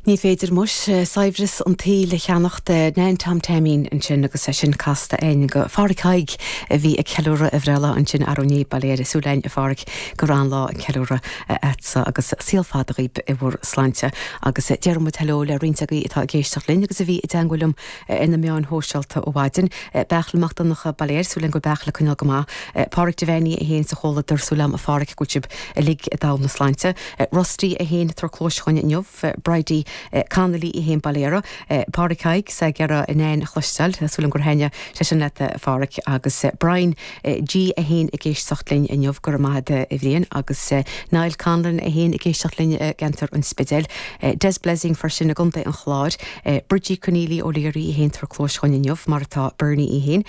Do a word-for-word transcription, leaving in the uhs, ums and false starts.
Ní féidir muis saibhreas an tsaoil a cheannacht Nan Tom Taimín ansin agus é sin casta againn do Pháraic Thaidhg a bhí ag ceiliúradh a bhreithlá ansin arú inné bail ó Dhia súil againn a Pháraic go raibh an-lá ag ceiliúradh agatsa agus saol fada dhaoib i bhur sláinte agus déarfaidh muid hello le roinnt agaibh atá ag éisteacht linn agus a bhí i dteagmháil liom ar na meáin shóisialta ó mhaidin. Beachla Mac Donncha bail ó Dhia air súil againn go Beachla coinneáil go maith. Pádraig Devaney é féin sa chomhluadar súil agam a Pháraic go bhfuil sibh uilig i dtogha na sláinte. Rusty é féin tar clóis chugainn inniu, Bridie Connolly í féin Baile Éire, Pádraig Thaidhg sa gceithre in aon chloisteáil, súil agam gur thaitnigh sé sin leat a Pháraic agus Brian G é féin ag éisteacht linn inniu go raibh maith agat a Bhriain agus Niall Conlon é féin ag éisteacht linn i gceantar an Spidéil. Des Blessing freisin i gContae an Chláir, Bridgie Conneely O'Leary í féin tar clóis chugainn inniu mar atá Bernie í féin.